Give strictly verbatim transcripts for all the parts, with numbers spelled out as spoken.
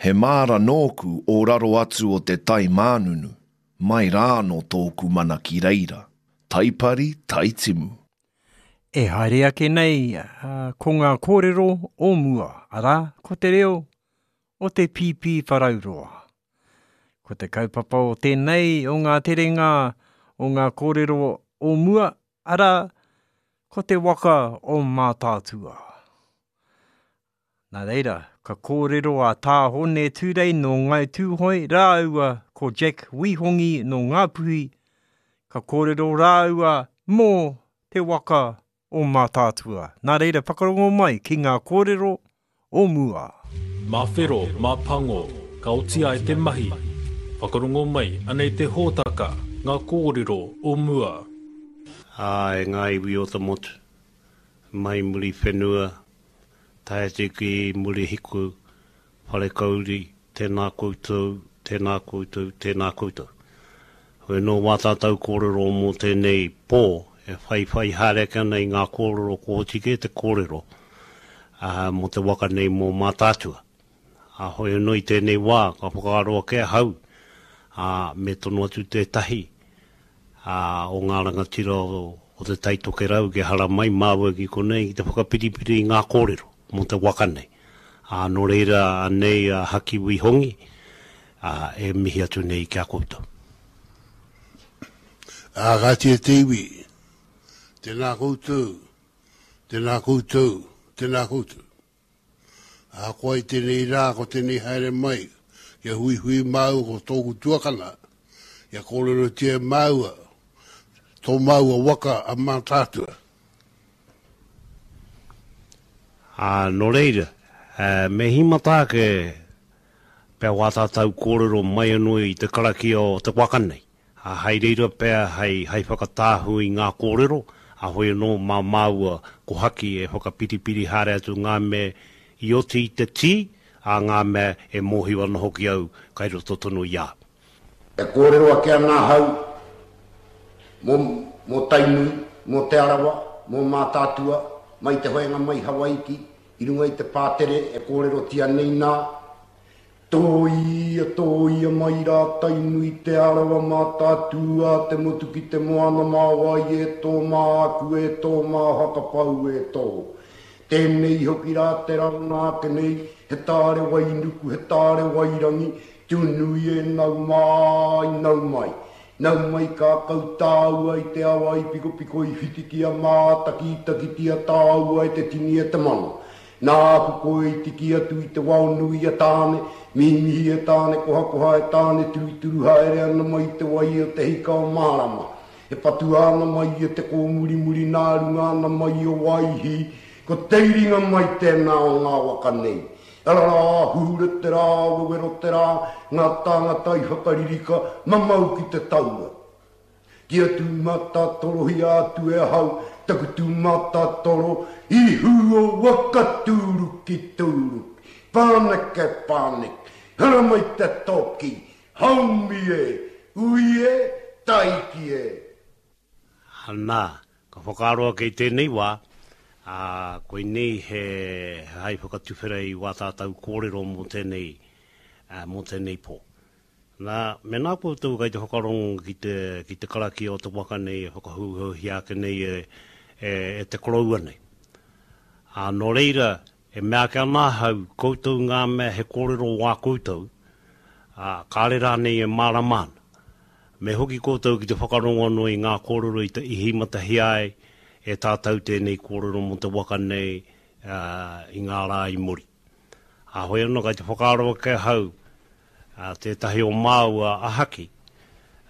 He māra nōku o raro atu o te tai mānunu, mai rāno tōku mana ki reira, taipari, taitimu. E haere ake nei ko ngā kōrero o mua, arā, ko te reo o te Pīpīwharauroa. Ko te kaupapa o tēnei o ngā terenga o ngā kōrero o mua, arā, ko te waka o Mātaatua. Nā reira, ka kōrero a Tā Hone Tūrei nō Ngāi Tūhoe rāua ko Jack Wihongi nō Ngāpuhi, ka kōrero rāua mō te waka o Mātaatua. Nā reira, whakarongo mai ki ngā kōrero o mua. Mā whero, mā pango, ka oti ai te mahi. Whakarongo mai, anei te hōtaka, ngā kōrero o mua. Ā, e ngā iwi o te motu, mai Muriwhenua, tae atu ki Murihiku, Wharekauri, tēnā koutou, tēnā koutou, tēnā koutou. Hoi anō wā tātou kōrero mō tēnei pō, e whaiwhai haere ake ana i ngā kōrero ko oti kē te kōrero ā, mō te waka nei mō Mātaatua. Ā, hoi anō i tēnei wā, ka whakaaro ake ahau, ā, me tono atu tētahi, ā, o ngā rangatira o, o Te Tai Tokerau kia haramai māua ki konei ki te whakapiripiri i ngā kōrero mō te waka nei. Ā, nō reira, anei a Haki Wihongi, ā, e mihi atu nei ki a koutou. Ā, kāti e te iwi, tēnā koutou, tēnā koutou, tēnā koutou. Ahakoa i tēnei rā, ko tēnei haere mai, kia huihui māua ko tōku tuakana, kia kōrerotia e māua, tō māua waka a Mātaatua. Ā, nō reira, me hīmata ake pea wā tātou kōrero mai anō i te karakia o te waka nei. Ā, hei reira pea hei, hei whakatāhu i ngā kōrero, ā, hoi anō mā māua ko Haki e whakapiripiri haere atu ngā mea i oti i te tī, ā, ngā mea e mōhio ana hoki au kai roto tonu i a au. E kōrero ake ana ahau mō, mō Tainui, mō Te Arawa, mō Mātaatua, mai te hoenga mai Hawaiki, i runga i te pātere e kōrerotia nei nā, Tōia, tōia mai rā Tainui, Te Arawa, Mātaatua, te motu ki te moana mā wai e tō, mā aku e tō, mā Hakapau e tō. Tēnei hoki rā te ranga ake nei, he tāre wainuku, he tāre wairangi, tūnui e nau mai, nau mai. Nau mai kākau tāua i te awa i pikopiko i whitikia mātakitakitia tāua e te tini e te mano. Nāku koe i tiki atu i te wao nui a Tāne, mihimihi e Tāne, kohakoha e Tāne, turuturu haere ana mai i te wai o te hika o Mārama. E patua ana mai e te kōmurimuri nā runga ana mai o Waihī, ko te iringa mai tēnā o ngā waka nei. Ararā, huhura te rā, wewero te rā, ngā tāngata i whakaririka, mamau ki te taua. Kia tūmatatorohia atu e ahau taku tūmatatoro i hū o waka tūruki tūruki, pāneke pāneke, haramai te toki, haumi e, ui e, taiki e. Anā, ka whakaaro ake i tēnei wā, ā, koinei he hai whakatuwhera i wā tātou kōrero mō tēnei, ā, mō tēnei pō. Nā, mēnā koutou kei te whakarongo ki te, ki te karakia o te waka nei e whakahouhouhia ake nei e, e, e te koroua nei. Ā, nō reira, e mea ake ana ahau, koutou ngā mea he kōrero wā koutou, ā, kāre rānei e mārama ana. Me hoki koutou ki te whakarongo anō i ngā kōrero i, i hīmatahia ai e tātou tēnei kōrero mō te waka nei, ā, i ngā rā i muri. Ā, hoi anō kei te whakaaro ake ahau, ā, tētahi o māua a Haki,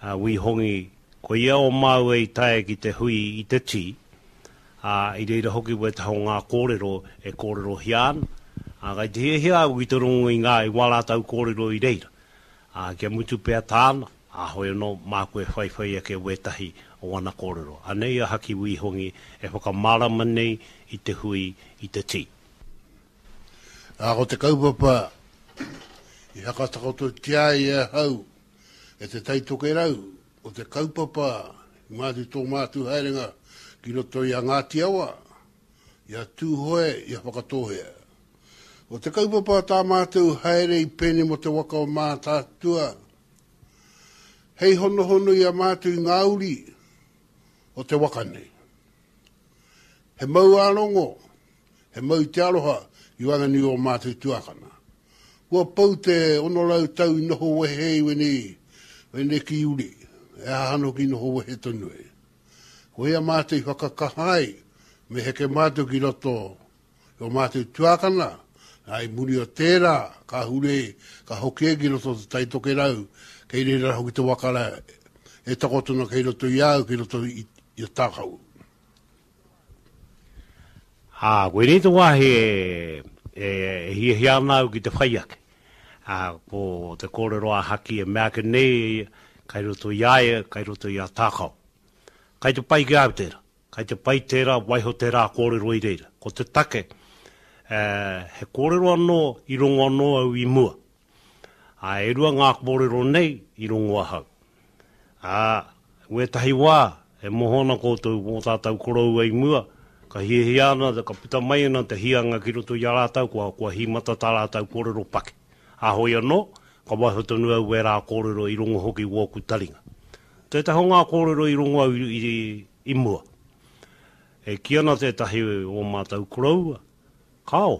a Wī Hongi, ko ia o māua i tae ki te hui i te tī, ā, i reira hoki wētahi o ngā kōrero e kōrerohia ana, ā, kei te hiahia au ki te rongo i ngā, i wā rātou kōrero i reira, ā, kia mutu pea tāna, ā, hoi anō, māku e whaiwhai ake wētahi o ana kōrero. Anei a Haki Wī Hongi e whakamārama nei i te hui i te tī. Ā, ko te kaupapa i hakatakototia ai e ahau e Te Tai Tokerau, ko te kaupapa i mātu tō mātu haerenga ki roto i a Ngāti Awa, i a Tūhoe, i a Whakatōhea. O te kaupapa tā mātou haere i pene mo te waka o Mātaatua, hei honohono i a mātou i ngā uri o te waka nei. He mau ārongo, he mau te aroha i waenganui o mātou tuakana. Kua pau te ono rau tau i noho wehe i wenei, wenei ki uri, e aha anō ki noho wehe tonu e. Ko ia mātou i whakakaha ai, me heke mātou ki roto i o mātou tuakana, nā i muri o tērā, ka hure, ka hoki e ki roto o te Tai Tokerau, kei reira hoki te waka rā, e takoto ana kei roto i a au, kei roto i, i a Tākau. Ā, koinei te wāhi e, e, e hiahia ana au ki te whai ake. Ā, ko te kōrero a Haki e mea ake nei, kai roto i a ia, kai roto i a Tākau. Kai te pai ki a au tērā. Kai te pai tērā, waiho tērā kōrero i reira. Ko te take, e, he kōrero anō i rongo anō au i mua. Ā, e rua ngā kōrero nei i rongo ahau. Ā, wētahi wā, e moho ana koutou mō tātou koroua i mua, ka hiahia ana, ka puta mai ana te hianga ki roto i a rātou, kua, kua hīmata tā rātou kōrero paki. Ā, hoi anō, ka waiho tonu au wērā kōrero i rongo hoki wōku taringa. Tētahi o ngā kōrero i rongo au i, i, i mua. E kī ana tētahi o mātou koroua, Kāo,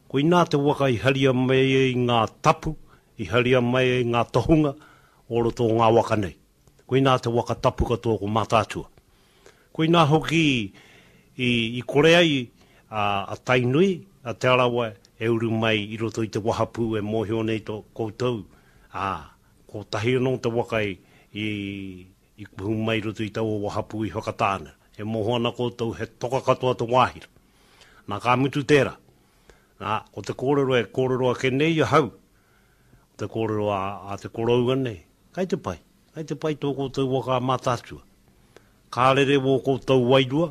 koinā te waka i haria mai ai ngā tapu, i haria mai ai ngā tohunga o roto o ngā waka nei. Koinā te waka tapu katoa ko Mātaatua. Koinā hoki i, i kore ai a, a Tainui, a Te Arawa e uru mai i roto i te wahapū e mōhio nei tō koutou, ā, kotahi anō te waka i, i, i kuhu mai i roto i taua wahapū i Whakatāne. E mōhio ana koutou he toka katoa te wāhi rā. Nā, ka mutu tērā. Nā, ko te kōrero e kōrero ake nei ahau, ko te kōrero a, a te koroua nei, kai te pai, kai te pai tō koutou waka a Mātaatua. Ka rere wō koutou wairua,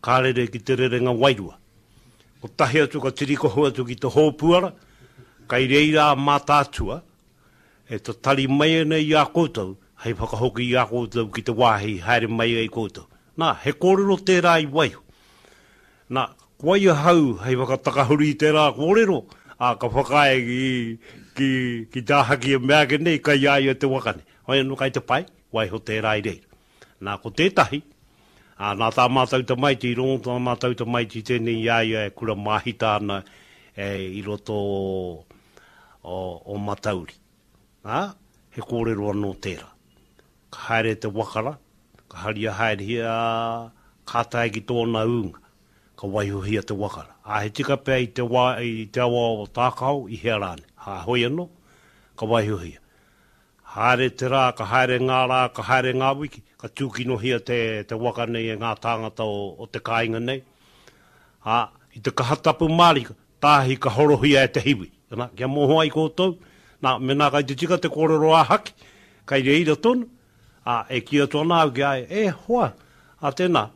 ka rere ki te rerenga wairua. Kotahi atu ka tirikohu atu ki te hōpuara, kai reira a Mātaatua e tatari mai ana i a koutou hei whakahoki i a koutou ki te wāhi haere mai ai koutou. Nā, he kōrero tērā i waiho. Nā, ko wai ahau hei whakatakahuri i tērā kōrero, ā, ka whakaae ki, ki, ki tā Haki e mea ake nei, kai a ia te waka nei. Hoi anō kai te pai, waiho tērā i reira. Nā, ko tētahi, ā, nā tā mātou tamaiti, i rongo tā mātou tamaiti tēnei i a ia e kura māhita ana e, i roto o, o, o Matauri. Ā, he kōrero anō tērā. Ka haere te waka rā, ka haria haerehia, ka tae ki tōna ūnga, ka waihohia te waka rā. Ā, he tika pea i te wā, i te awa o Tākao, i hea rānei. Ā, hoi anō, ka waihohia. Haere te rā, ka haere ngā rā, ka haere ngā wiki, ka tūkinohia te, te waka nei e ngā tāngata o, o te kāinga nei. Ā, i te kaha tapu mārika, tāhi ka horohia e te hiwi. Nā, kia mōhio ai koutou, nā, mēnā kai te tika te kōrero a Haki, kai reira tonu, ā, e kī atu ana au ki a ia, e hoa, ā tēnā,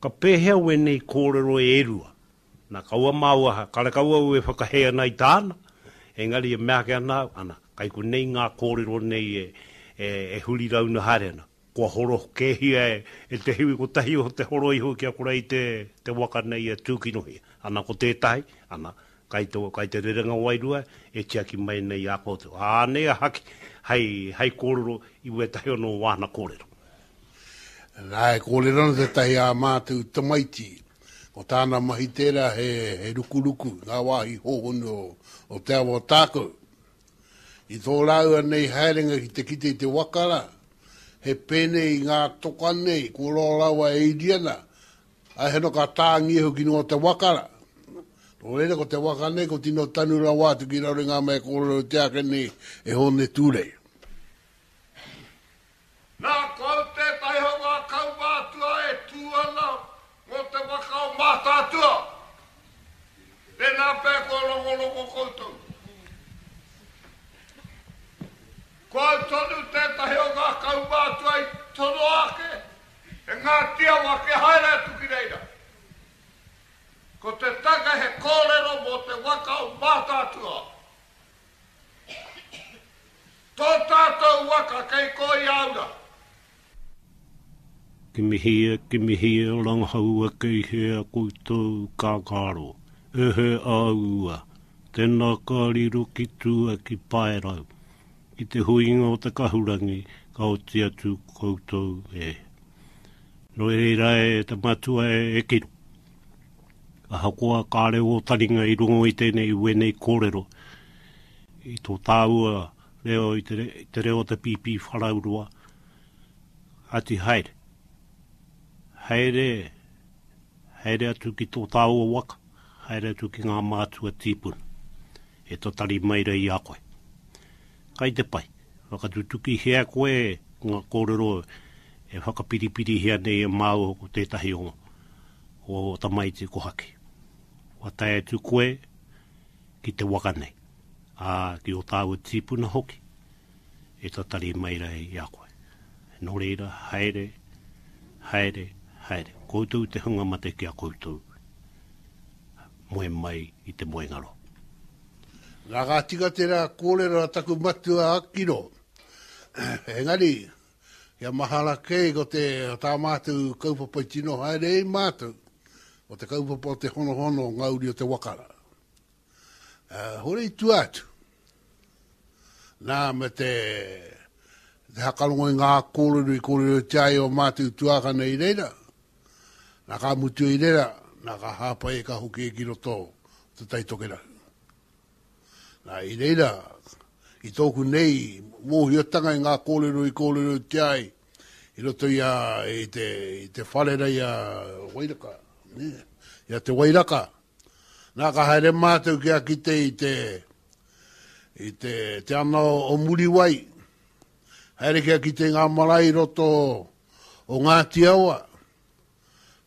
ka pēhea wēnei kōrero e rua? Nā, kaua māua, karekau au e whakahē ana i tāna, engari e mea ake ana au, ana, kai konei ngā kōrero nei e, e, e huri rauna haere ana. Kua horo kēhia e, e te hiwi kotahi o te horo iho kia kore ai te, te waka nei e tūkinohia. Ana, ko tētahi, ana, kai te, kai te rerenga wairua e tiaki mai nei i a koutou. Ā, anei a Haki hei, hei kōrero i wētahi anō o āna kōrero. Nā, e kōrero ana tētahi ā mātou tamaiti, ko tāna mahi tērā he, he rukuruku i ngā wāhi hōhonu o, o te awa o Tākou. I tō rāua nei haerenga ki te kite i te waka rā, he pēnei i ngā toka nei, kua roa rawa e iri ana, ā, he noka tāngia hoki noa te waka rā. Nō reira, ko te waka nei, ko tino tanu rawa atu ki raro i ngā mea kōrero i te ake nei e Hōne Tūrei. Nā, ko au tētahi o ngā kaumātua e tū ana mō te waka o Mātaatua. Tēnā pea kua rongorongo koutou. Ko au tonu tētahi o ngā kaumātua i tonoa ake e Ngāti Awa kia haere atu ki reira. Ko te take he kōrero mō te waka o Mātaatua. Tō tātou waka kei Kōiāura. Kimihia, kimihia, rangahaua kei hea koutou kākaro, e he āua, Tēnā ka riro ki tua ki Paerau, ki te huinga o te kahurangi, ka oti atu koutou e. No reira e te matua e, e kiro. Ahakoa kāre o taringa i rongo i tēnei wēnei kōrero, i tō tāua reo i te, i te reo o te Pīpīwharauroa, ati haere. Haere, haere atu ki tō tāua waka, haere atu ki ngā mātua tīpuna, e tatari mai rei i a koe. Kai te pai, whakatutuki hea koe ngā kōrero e whakapiripiri hea nei e māua ko tētahi o, o tamaiti kohaki. Kua tae atu koe ki te waka nei, ā, ki o tāua tīpuna hoki, e tatari mai rei i a koe. Nō reira, haere, haere, haere. Koutou te hunga mate ki a koutou. Moe mai i te moengaro. Nā ka tika tērā kōrero a taku matua Akiro. Engari, kia mahara kē ko te tā mātou kaupapa i tino haere i mātou, o te kaupapa o te honohono o ngā uri o te wakara. Uh, hore i tua atu. Nā, me te, te hakarongo i ngā kōrero i kōrero te ai o mātou tuākana i reira. Nā ka mutu i reira, nā ka hāpai e ka hoki e ki roto te Taitokerau. Nā, i reira, i tōku nei mōhiotanga i ngā kōrero i kōrero te ai, i roto i, a, i, te, i te wharera i a Wairaka, ne? I a te Wairaka. Nā, ka haere mātou ki a kite i te, i te, te ana o, o Muriwai. Haere ki a kite i ngā marae i roto o Ngāti Awa.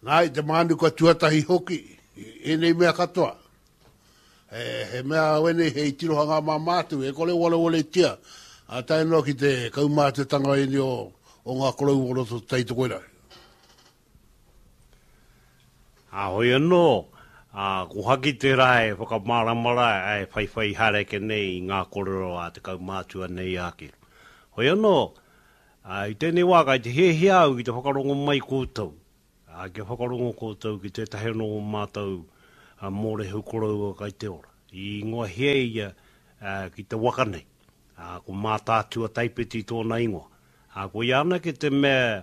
Nā, i te mānuka tuatahi hoki, i ēnei mea katoa. He, he mea wene hei tirohanga mā mātou, e kore wareware tia, a tae noa ki te kaumātuatanga ēnei o, o ngā korou o roto Taitokerau. A hoi anō, a, ko haki te rā e whakamāramara e whaiwhai haere ake nei i ngā kōrero a te kaumātua nei a Kiro. Hoi anō, a, i tēnei wā kai te hiahia au ki te whakarongo mai koutou, a, kia whakarongo koutou ki tētahi anō o mātou a, mōrehu koroua kai te ora. I ingoa hea ia a, ki te waka nei, a, ko Mātaatua Taipeti tōna ingoa. A, ko ia anake te mea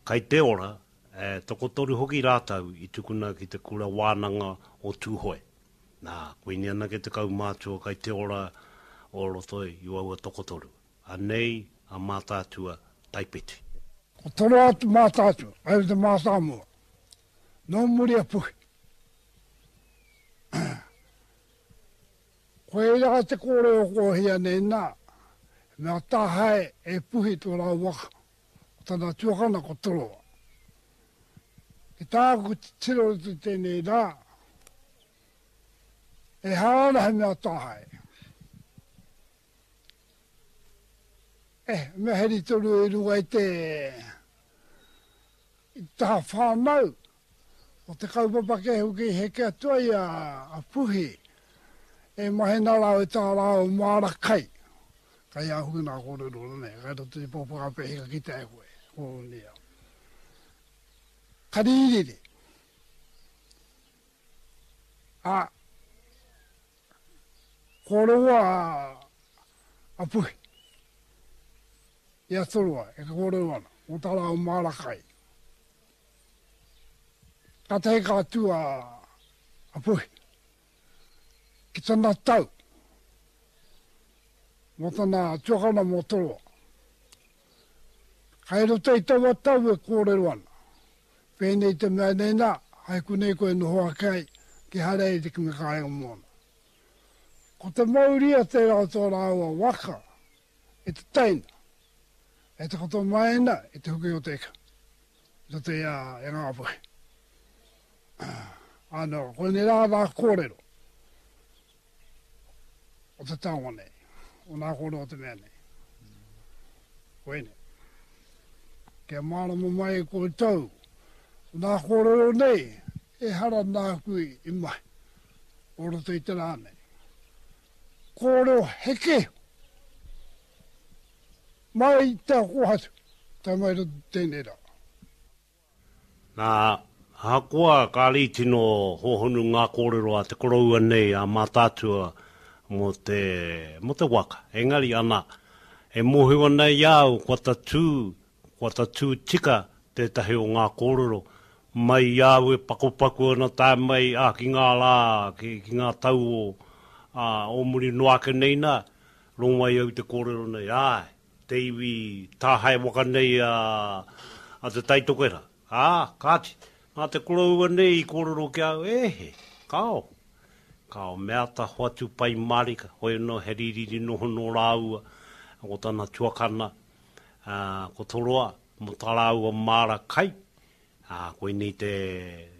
kai te ora, e, tokotoru hoki rātou i tukuna ki te kura wānanga o Tūhoe. Nā, koinei anake te kaumātua kai te ora o roto i waua tokotoru. Anei a Mātaatua Taipeti. Ko toro atu Mātaatua, ai te mātāmua. Nō muri a Puhi. Ko eira te kōrero ko hia nei nā, mea tāhae e Puhi tō rā waka, o tana tuakana ko Toroa. Ki tāku tiro te tēnei rā, e hara he mea tāhae. Eh, mea heri toru i runga i te, i taha whānau, o te kaupapa ke hoki heke atua i a, a Puhi, e mahi nā rāo i tā rāo māra kai. Kai a hoki nā kōrero nei, kai roto i pōpaka pehika ki te e koe, kōrero. Kaririri. A, kōrero a, a Puhi. I a Toroa, e ka kōrero ana, o tā rāo māra kai. Ka tahi ka atu a, a Puhi. Ki tana tau. Mō tana tuakana mō Toroa. Kai roto i taua tau e kōrero ana. Pēnei te mea nei nā, hai kunei koe noho ake ai, ki haere ai te kimi kāinga mōna. Ko te mauria tērā o tō rāua waka, e te teina, e te koto maina, e te huki o te eka. I roto i a, e ngā puhi. Ano, koinei rā rā kōrero o te taonga nei, o nā kōrero o te mea nei. Koinei. Kia mārama mai koutou, nā kōrero nei, e hara nāku i mahi, o roto i te rā nei. Kōrero heke, mai te ako atu, tai mai roto tēnei rā. Nā, Ahakoa kāre i tino hōhonu ngā kōrero a te koroua nei a Mātaatua mō te, mō te waka. Engari ana, e mōhio ana i a au kua tatū, kua tatū tika tētahi o ngā kōrero mai i a au e pakupaku ana tae mai ā, ki ngā rā, ki, ki ngā tau o, ā, o muri noa ake nei nā, rongo ai au i te kōrero nei, āe, te iwi tāhae waka nei a, a Te Taitokerā. Ā, kāti, nā te koroua nei i kōrero ki a au, e he, kāo. Kāo, me āta hoatu pai mārika, hoi anō he rīriri noho nō rāua, ko tana tuakana, ā, ko Toroa, mō tā rāua māra kai, ā, koinei te,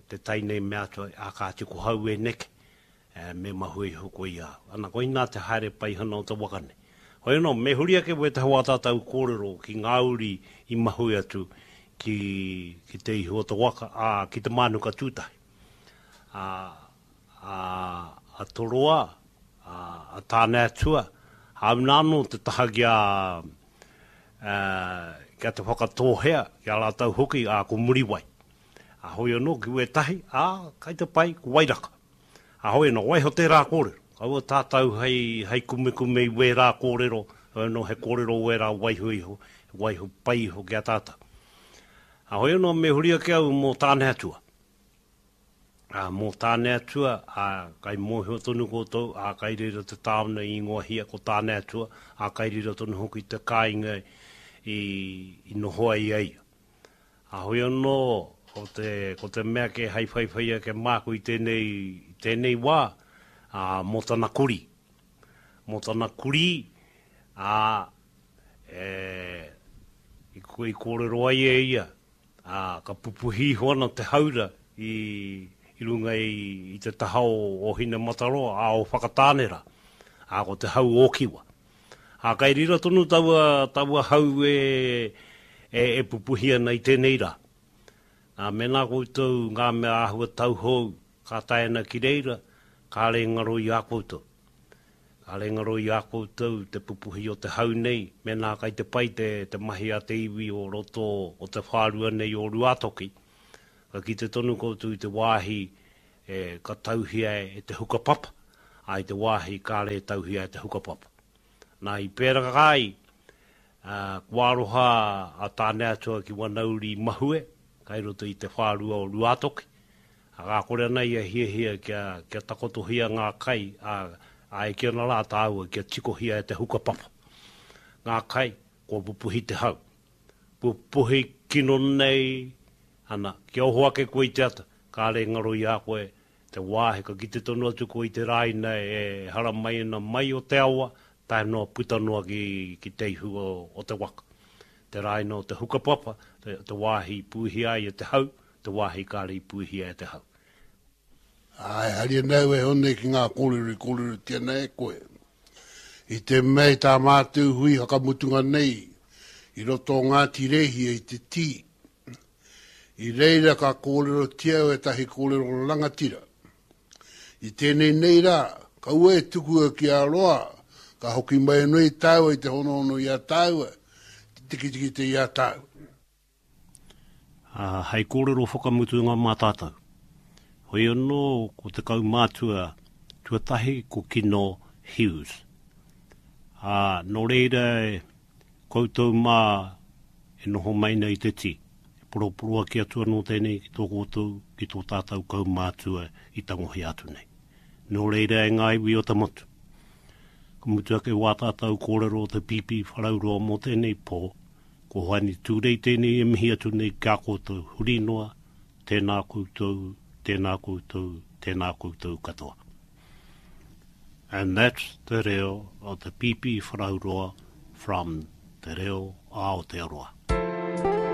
te tai nei mea atu ai, ā, kāti ko hau e neke, ē, me mahue iho koe i a au. Ana, koinā te haere paihana o te waka nei. Hoi anō, me huri ake wētahi o ā tātou kōrero ki ngā uri i mahue atu ki, ki te ihu o te waka, ā, ki te mānuka tūtahi. Ā, ā, a Toroa, ā, a Tāneatua, hāuna anō te taha ki a, ā, ki a Te Whakatōhea, ki a rātou hoki, ā, ko Muriwai. Ā, hoi anō ki wētahi, ā, kai te pai, ko Wairaka. Ā, hoi anō, waiho tērā kōrero. Kaua tātou hei, hei kumekume i wērā kōrero, hoi anō he kōrero wērā waiho iho, he waiho pai iho ki a tātou. Ā, hoi anō me huri ake au mō Tāneatua. Ā, mō Tāneatua, ā, kai mōhio tonu koutou, ā, kai reira te tāone i ingoahia ko Tāneatua, ā, kai reira tonu hoki te kāinga i, i noho ai a ia. Ā, hoi anō, ko te, ko te mea kē hei whaiwhai ake māku i tēnei, i tēnei wā, ā, mō tana kurī. Mō tana kurī, ā, e, i, i kōrero ai e ia, ā, ka pupuhi iho ana te haura i, i runga i, i te taha o, o Hinemataroa, ā, o Whakatāne rā, ā, ko te hau ōkiwa. Ā, kai reira tonu taua, taua hau e, e, e pupuhi ana i tēnei rā. Nā, mēnā koutou ngā mea āhua tauhou ka tae ana ki reira, kāre e ngaro i a koutou. Kāre e ngaro i a koutou te pupuhi o te hau nei, mēnā kai te pai te, te mahi a te iwi o roto o te whārua nei o Ruātoki, ka kite tonu koutou i te wāhi e, ka tauhia e te hukapapa, ā, i te wāhi kāre e tauhia e te hukapapa. Nā, i pērā ai, ā, kua aroha a Tāneatua ki wana uri mahue, kai roto i te whārua o Ruātoki, ā, ka kore ana ia hiahia kia, kia takotohia ngā kai, ā, ā, e kī ana rā tāua kia tikohia e te hukapapa ngā kai, kua pupuhi te hau. Pupuhi kino nei, ana, kia oho ake koe i te ata, kāre e ngaro i a koe te wāhi, ka kite tonu atu koe i te rāina e haramai ana mai o te awa, tae noa puta noa ki, ki te ihu o, o te waka. Te rāina o te hukapapa, te, te wāhi i pūhia ai e te hau, te wāhi kāre i pūhia e te hau. Āe, hari ana au e Hone ki ngā kōrero i kōrerotia nei e koe. I te mea i tā mātou hui whakamutunga nei i roto o Ngāti Rēhia i te tī, i reira ka kōrerotia au ētahi kōrero rangatira. I tēnei nei rā, kaua e tukua ki a roa, ka hoki mai anō i tāua i te honohono i a tāua, te tikitikite i a tāua. Ā, hei kōrero whakamutunga mā tātou. Hoi anō ko te kaumātua tuatahi ko Kino Hughes. Ā, nō reira e koutou mā e noho mai nei i te tī, e poroporoaki atu anō tēnei ki tō koutou, ki tō tātou kaumātua i tangohia atu nei. Nō reira e ngā iwi o te motu, ka mutu ake wā tātou kōrero o te Pīpīwharauroa mō tēnei pō, Ko Hoani Tūrei tēnei e mihi atu nei ki a koutou huri noa, tēnā koutou, tēnā koutou, tēnā koutou katoa. And that's te reo o te Pīpīwharauroa from Te Reo Aotearoa.